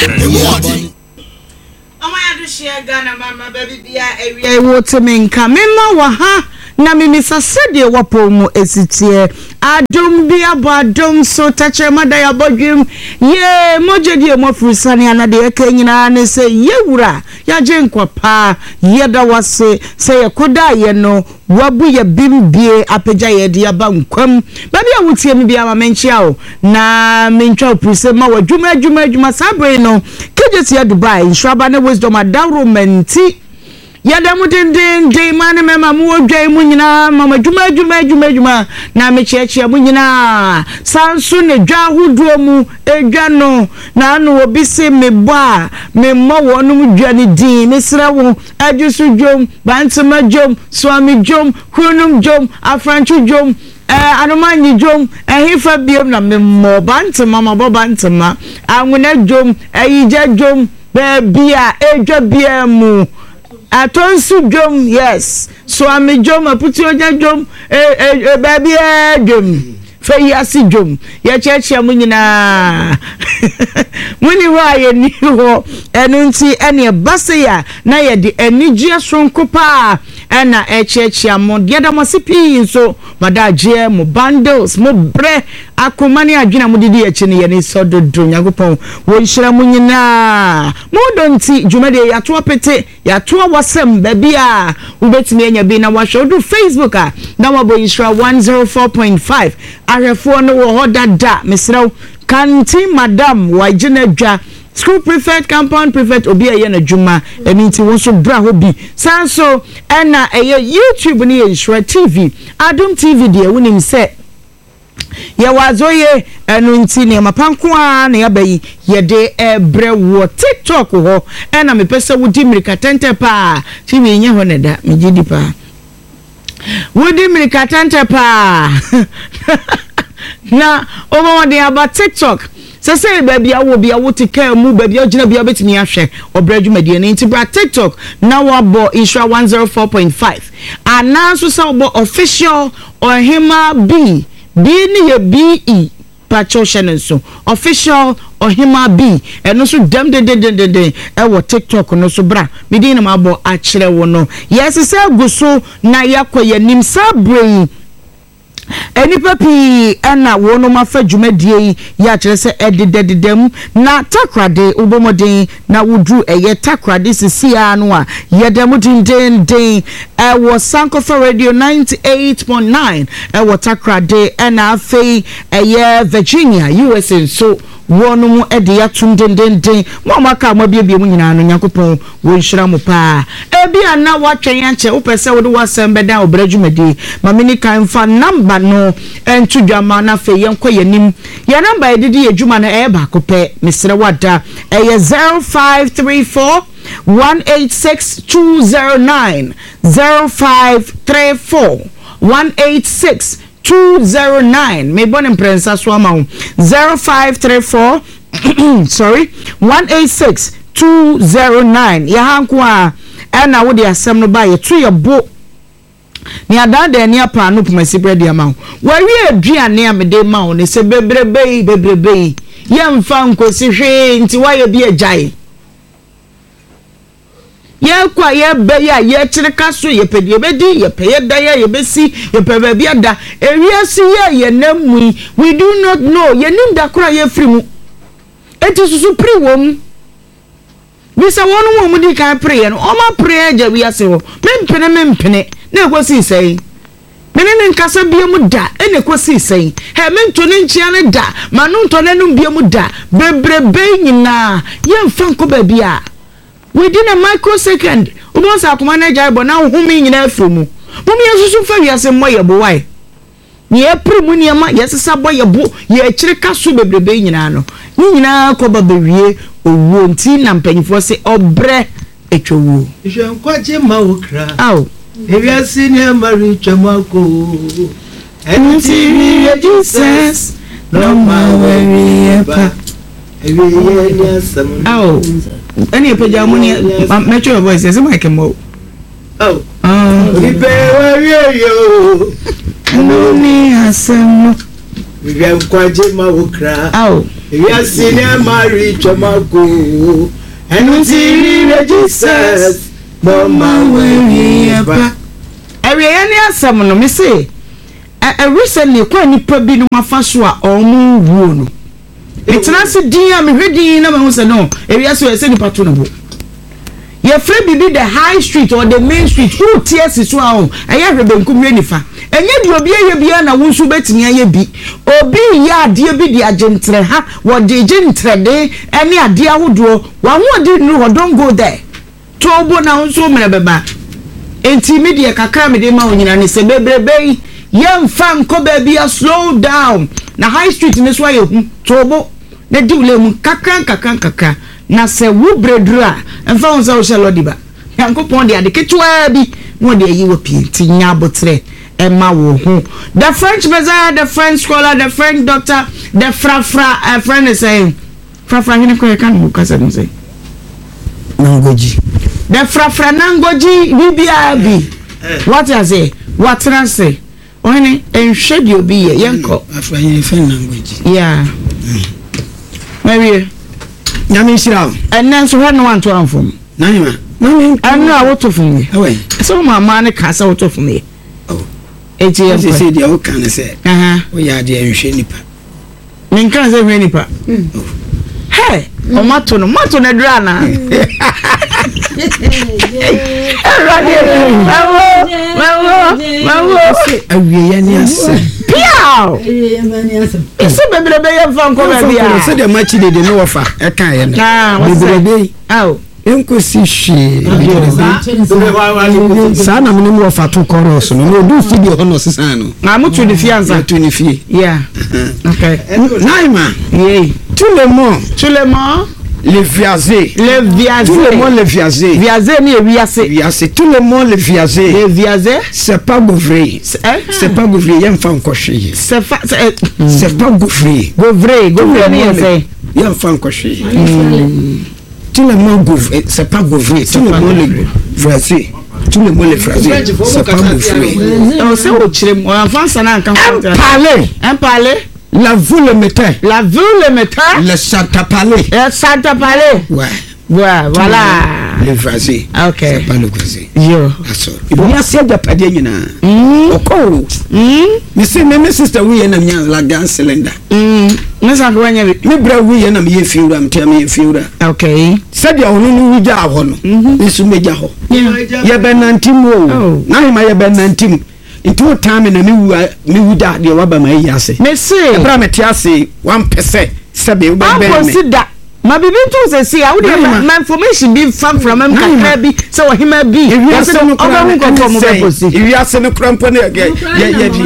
Emu ɔden. Ɔman adehyeɛ Ghana mama baabi bia awia yi wote me nka me ma wɔ ha na memisa sɛdeɛ wapɔw mu esi teɛ adom bi abɔ adom so tɛkyerɛma da yɛabɔ dwem yee mogya die mu afurusane ana deɛ ɛka nyinaa ne sɛ yɛwura yɛagye nkwa paa yɛda wase sɛ yɛkɔdaa yɛ no Wabu yɛ bem bie apagya yɛ de aba nkwa mu. Baabi a wotie me biara ma menkyea wo na mentwa wo pirise ma w'adwuma adwuma adwuma. Saa bere yi no, Kejetia Dubai, Nhyiraba ne Wisdom adaworo ma nti yɛda mo dendeenden mmaa ne mmarima mowɔ dwa yi mu nyinaa ma mo adwuma adwuma adwuma adwuma na mekyeakyea mo nyinaa. Saa nso na dwa ahodoɔ mu edwa no na ano obi se mebɔ a memmɔ wɔnom dwa no din. Mesrɛ wo Adwoso dwom, Bantama dwom, Suame dwom, Kurunum dwom, Afrantwo dwom, eh, Anomanyi dwom, ɛhefa biom na memmɔ Bantama, mabɔ Bantama, Anwena dwom, Ayigya dwom, baabi a edwa biara mu, Atonsu dwom, yes, Suame dwom, Aputuogya dwom, eh, eh, eh, baabiara dwom. Fa yi ase dwom. Yɛkyerɛkyerɛ mo nyinaa. Monni hɔ a yɛnni hɔ. Ɛno nti ɛne ɛba sei a na yɛde anigyeɛ soronko paa ɛna ɛkyerɛkyerɛ mo. Yɛda mo ase pii nso. Mo adagyeɛ, mo bundles, mo brɛ, akoma ne adwene a mode di akyi no yɛn ani sɔ dodo. Nyankopɔn wɔnhyira mo nyinaa. Mo dɔ nti dwumadie yɛato apete. Yɛatoa w'asɛm baabi a wobɛtumi anya bi na wahwɛ. Wodu Facebook a na wabɔ Nhyira 104.5. Ahwɛfoɔ no wɔ hɔ dada. Mesrɛ wo, Kanti Madam wagye n'adwa. School prefect, compound prefect, obi a ɛyɛ n'adwuma. Ɛno nti wo nso bra hɔ bi. Saa nso ɛna ɛyɛ YouTube no yɛ Nhyira TV. Adom TV deɛ wonim sɛ Yɛwɔ adzoye, ɛno nti nneɛma pa nko ara na yɛaba yi yɛde rebrɛ woɔ. TikTok hɔ na mepɛ sɛ wodi mmirika tɛntɛ paa. TV nyɛ hɔ na ɛda, megye di paa. Wodi mmirika tɛntɛ paa na wobɔ mmɔden aba TikTok. Sɛ sɛ baabi a wɔ bia wote kaa mu, baabi a wogyina bia wobɛtumi ahwɛ ɔbrɛ dwumadie no. Nti bra TikTok na woabɔ Nhyira 104.5 anaa nso sɛ wobɔ official Ɔhemaa B, B no yɛ BE, pakyɛw hyɛ no nso, Official Ɔhemaa B, ɛno nso dɛm dendendenden ɛwɔ TikTok no so, bra, me din na mabɔ akyerɛ wo no. Yɛresesa agu so na yɛakɔ yɛn anim saa berɛ yi. Nnipa pii na wɔnom afa dwumadie yi yɛ akyerɛ sɛ ɛdedadeda mu na Takoradi wobɔ mmɔden na woduru ɛyɛ Takoradi sisi ara no a yɛda mu dendeenden ɛwɔ Sankofa Radio 98.9 ɛwɔ Takoradi ɛna afei ɛyɛ Virginia USA nso wɔnom de atum dendenden. Mo a moaka a moabiebie mu nyinaa no Nyankopɔn wɔnhyira mo paa. Ebia na woatwɛn akyɛ wopɛ sɛ wode w'asɛm bɛdan ɔbrɛ dwumadie. Ma menni kan mfa number no nto dwa ma na afei yɛnkɔ yɛn anim. Yɛn number a yɛde di yɛn dwuma no ɛyɛ baako pɛ. Mesrɛ wo ada. Ɛyɛ 0534 186 209. 0534 186 209. Mebɔ no mprɛnsa so ama wo. 0534 sorry 186 209. Yɛ ha nko a ɛna wode asɛm no ba yɛto yɛ bo. Ne adaadaa ani apaano pomasi berɛ de ama wo. Wawie aduane a mede ma wo ne sɛ bebrebe yi bebrebe yi yɛmfa nkosi hwee nti woayɛ bi agyae. Yɛkɔ a yɛba yi a yɛkyere ka so yɛpɛ deɛ yɛbɛdi yɛpɛ yɛ dan a yɛbɛsi yɛpɛ baabi ada. Ewiase yi a yɛnam mu yi we do not know yɛnim da koro a yɛfiri mu. Enti susu pere wɔ mu. Bisa wɔnom a wɔdii kan pereeɛ no, wɔapere agya wiase hɔ. Mempene, mempene, na ɛkɔsii sɛn? Me ne no nkasa biom da, ɛna ɛkɔsii sɛn? Hɛ, mento ne nkyea no da, m'ano ntɔ n'anom biom da. Bebrebe yi nyinaa, yɛmfa nkɔ baabi a. Within a microsecond, wobɛhu sɛ akoma no agyae bɔ na wo home nyinaa afiri mu. Mom yɛnsusu mfa wiase mmɔ yɛn bo, why? Nea yɛpere mu nneɛma, yɛsesa bɔ yɛn bo, yɛkyere ka so bebrebe yi nyinaa no, ne nyinaa kɔba bɛwie owuo. Nti na mpanyinfoɔ se ɔbrɛ atwa wuo. Hwɛ nkwagye ma wo kra. Ao. Ewiase nneɛma retwam akɔ o. Ɛno nti hwehwɛ Jesus na ɔma w'awieɛ pa. Awieɛ ne asɛm no. Ao. Ɛne ɛpagya mu ne mɛtwe your voice yɛsɛ mic mmɔ o. Oh. Onipa w'awieɛ o. Ɛno ne asɛm no. Hwehwɛ nkwagye ma wo kra. Ao. Ewiase nneɛma retwam akɔ o, ɛno nti hwehwɛ Jesus na ɔma wo awieɛ pa. Awieɛ ne asɛm no, me se ɛ ɛ recently kwan a nnipa binom afa so a wɔn wuo no, metena ase din a mehwɛ din na mahu sɛ no, ewiase wɔ ɛsɛ nipa to ne bo. Yɛfrɛ biribi the high street or the main street, wote asi so a o, ɛyɛ hwɛ benkum hwɛ nifa. Ɛnyɛ deɛ obi ayɛ biara na wo nso wobɛtumi ayɛ bi. Obi reyɛ adeɛ bi de agye ntrɛha, wɔde regye ntrɛde ne adeɛ ahodoɔ, w'ahoɔden nnuru hɔ, don't go there. To wo bo na wo nso wo mmerɛ bɛba. Enti me deɛ kakra a mede rema wo nyinaa ne sɛ bebrebe yi yɛmfa nkɔ baabi a slow down na high street no so ayɛ hu. To wo bo na di wo lane mu nkakra nkakra nkakra na sɛ wo berɛ duru a ɛmfa ho sɛ wohyɛ lɔdi ba. Nyankopɔn de ade ketewaa bi na ɔde ayi wo pie nti nya aboterɛ ma wo ho. The French Messiah, the French scholar, the French doctor, the frafra, ɛfrɛ no sɛn? Frafra hene koraa yɛka no wɔ kasa mu sɛn? Nangoji. The frafra nangoji biribiara bi. Wate ase? Watena ase. Ɔhene, nhwɛ deɛ obi yɛ, yɛnkɔ. Frafra hene fɛn nangoji. Yeah. Mawie. Nyame nhyira wo. Ɛnnɛ nso hwɛ no wanto amfom. Nahima. Ɛno a woto fom yɛ. Ɛwɛ. Sɛ wo maamaa no ka sɛ woto fom yɛ. Oh. Eti yɛnkɔ. Sɛ deɛ woka no sɛ. Woyɛ adeɛ nhwɛ nipa. Menka sɛ hwɛ nipa. Hɛ, ɔmo ato no, mo ato no aduru anaa? Awurade, mawo, mawo, mawo. Awieɛ ne asɛm. Piaw! Ɛsɛ bebrebe yɛ nfa nkɔ baabi a. Sɛdeɛ makyi dede ne wɔfa ɛka yɛ no. Bebrebe. Enkosi hwee. Saa na mene mu wɔfa to chorus no. Na odu studio hɔ na ɔsesaa no. Na mo to ne fie ansa. To ne fie. Yeah. Okay. Naima. Yay. Tout le monde. Tout le monde. Le viager. Le viager. Tout le monde le viager. Viager ni ewiase. Wiase. Tout le monde le viager. Le viager. C'est pas gouvré. C'est pas gouvré. Yɛn fa nkɔ hwee. C'est pas. C'est pas gouvré. Gouvré. Gouvré ni yɛ sɛ. Yɛn fa nkɔ hwee. Tout le monde gouvre, c'est pas gouvré. Tout le monde le vrasé. Tout le monde le vrasé. C'est pas gouvré. Ɔ sɛ o kyerɛ mu ɔnfa nsa na nka ho. Parler. Un parler. La vous le mettez. La vous le mettez. Le santapalé. Le santapalé. Ouais. Ouais, voilà. Le vrasé. Ok. C'est pas le vrasé. Yo. That's all. Wiase agyapadeɛ nyinaa. Ɔkɔ o. Mese me me sister wuyɛ na menya la gas cylinder. Ne sa ko wanya bi. Me bra wuyɛ na meyɛ fiewura metua meyɛ fiewura. Okay. Sɛdeɛ ɔno no wu gyaa hɔ no, me nso mɛgya hɔ. Yɛbɛnante mu o. N'ahema yɛbɛnante mu. Nti wotaa me na mewu a mewu da deɛ waba ma ayi ase. Mese. Ɛberɛ a mete ase wampɛ sɛ sɛbe wobɛbɛn me. Ankosi da. Ma biribi nto wo sɛsi a wodeɛ ma ma information bi fa mframa mu kakra bi sɛ ɔhema bi Ewiase no koraa ɔbɛhu nkurɔfoɔ a wɔbɛ posti. Ewiase no koraa mpo ne yɛ yɛ yɛ di.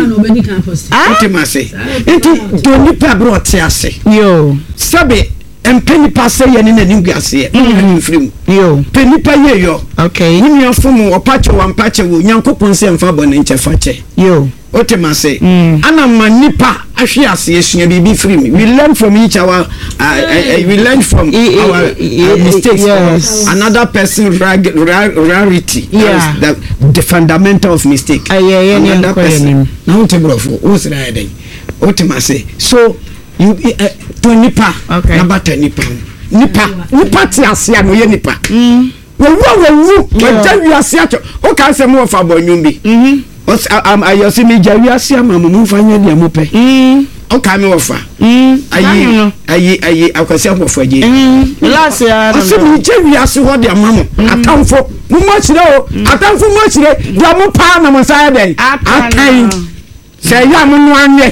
Wote ma ase. Nti dɔ nipa berɛ ɔte ase. Yoo. Sɛbe mpɛ nipa sɛ yɛ ne n'animguaseɛ. Wo nua mfiri mu. Yoo. Pɛ nipa yie yɔ. Okay. Wo nua fom wo ɔpa kyɛ wo ampa kyɛ wo Nyankopɔn sɛ mfa bɔne nkyɛ fa kyɛ. Yoo. Wote m'ase? Ana ma nnipa ahwe ase asua biribi firi mu. We learn from each our uh, uh, we learn from our mistakes. Yes. Another person rag, rag, rarity. Yeah. That is the fundamental of mistake. Yeah, yeah, Another person. Na wote borɔfo, wo sra yɛ dɛn? Wote m'ase? So you uh, to nipa. Okay. Na bata nipa. Nipa, nipa te ase a na ɔyɛ nipa. Wawu a wawu, wagya wiase akyɛ. Woka sɛ mo wɔfa bɔ nnwom bi. Ayɛ sɛ megya wiase ama mo, momfa nyɛ deɛ mopɛ. Woka me wɔfa. Ayi, ayi, ayi, akwasi abɔfo agye. Ɔsɛ megya wiase hɔ de ama mo. Atamfo, mo mo akyerɛ o. Atamfo mo akyerɛ, deɛ mo paa na mo nsa ayɛ dɛn? Akan. Sɛ ɛyɛ a monoa nwe.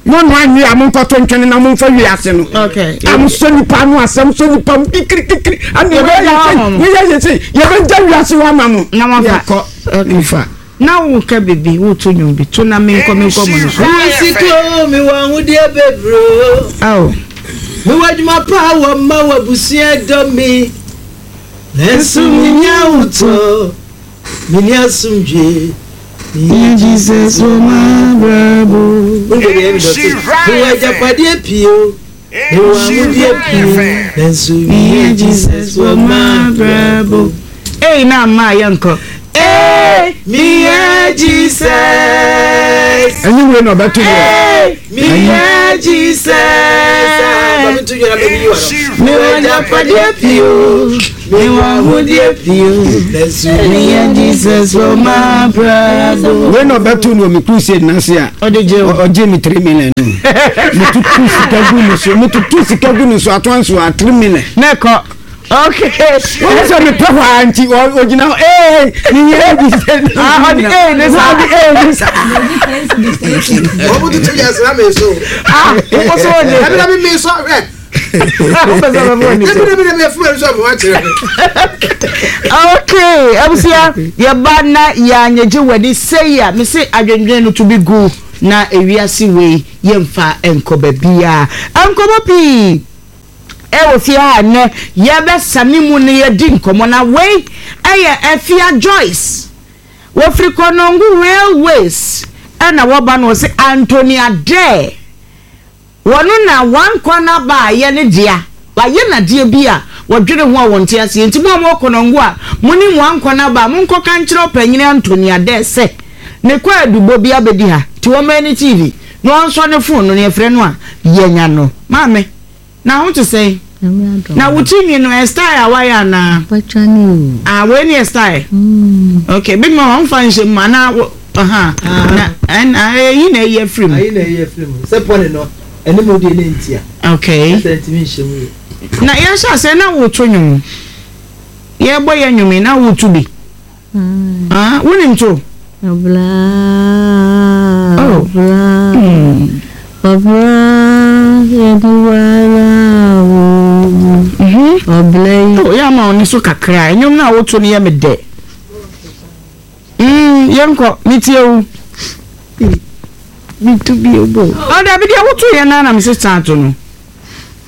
Monoa nwe a monkɔto ntwene na momfa wi ase no. A mosɔ nipa ano asɛm sɔ nipa mu kikirikikiri. Ɛna yɛbɛyɛ sɛ yɛyɛ yɛ sɛ yɛbɛgya wiase hɔ ama mo. Na moafa. Yɛkɔ mfa. Na woka biribi woto nnwom bi to na menkɔ menkɔ mo no so. Mewɔ sika o, mewɔ ahodeɛ bebree o. Ao. Mewɔ adwuma pa wɔ mma wɔ abusua dɔ me. Nanso mennya ahotɔ. Menni asomdwoe. Mehia Jesus wɔ m'abrabɔ. Wonhwɛ deɛ ɛmi dɔte. Mewɔ agyapadeɛ pii o. Mewɔ ahodeɛ pii. Nanso mehia Jesus wɔ m'abrabɔ. Ei na ama yɛnkɔ. Ei. Hey, me yeah Jesus. Ɛnyɛ wei na ɔbɛto yɛ. Hey, me yeah Jesus. Me wɔ agyapadeɛ pii o, me wɔ ahodeɛ pii o. Me yeah Jesus wɔ m'abrabɔ. Wei na ɔbɛto no wɔ me crusade n'ase a. Ɔde gye o. Ɔgye me 3 million no. Metutu sika gu ne so, metutu sika gu ne so ato nso a 3 million. Ne kɔ. Okay. Wọ́n sọ mi pẹ́ hɔ a nti ogyina hɔ ee mi yẹ bi sẹ. Ah ɔdi ee ne sa. Ɔdi ee ne sa. Wọ́n mu tutu yẹ sira mi so. Ah wọ́n sọ wọ́n di. Ẹbi na mi mi sọ ẹ. Wọ́n pẹ sọ bẹ fún ẹni sọ. Ẹbi na mi na mi fún ẹni sọ mi wá kyerẹ mi. Okay abusua yɛ ba na yɛ anyegye w'ani sɛyi a mese adwendwen no to bi gu na ewiase wei yɛmfa nkɔ baabiara nkɔmɔ pii. Wɔ fie ha nnɛ, yɛbɛsane mu na yɛadi nkɔmmɔ. Na wei yɛ Afia Joyce. Wɔfiri Konongo Railways na wɔba no wɔse Anthony Adair. Wɔno na wankɔ n'aba a ɛyɛ ne dea. Wayɛ no adeɛ bi a wɔdwene ho a wɔnte aseɛ. Nti mo a mowɔ Konongo a monim wankɔ n'aba a, monkɔka nkyerɛ ɔpanyini Anthony Adair sɛ ne kwaadubɔ bi abɛdi ha. Nti wɔmmɛn ne TV na ɔnsɔ ne phone no na yɛfrɛ no a yɛanya no. Maame. Na ho te sɛn? Na wo ti nwi no ɛ style a wayɛ anaa? Ah wei ne yɛ style. Okay big mama wo fa nhyɛ mu anaa wo aha na ɛna ɛyi na ɛyi afiri mu. Ayi na ɛyi afiri mu sɛ pɔne no ɛne mu deɛ ne ntia. Okay. Ɛsɛ ntumi nhyɛ mu yɛ. Na yɛhyɛ aseɛ na woto nnwom yɛbɔ yɛ nnwom yi na woto bi. Ah, wonim to? Ɔbra, Oh. ɔbra, ɔbra, yɛde wara wo. Ɔbra yi. Oh, yɛ ama wo ne so kakra. Nnwom no a woto no yɛ me dɛ. Yɛnkɔ, metie wo. Meto bio bo. Oh, dabi deɛ woto yɛ no ara na me sesa ato no.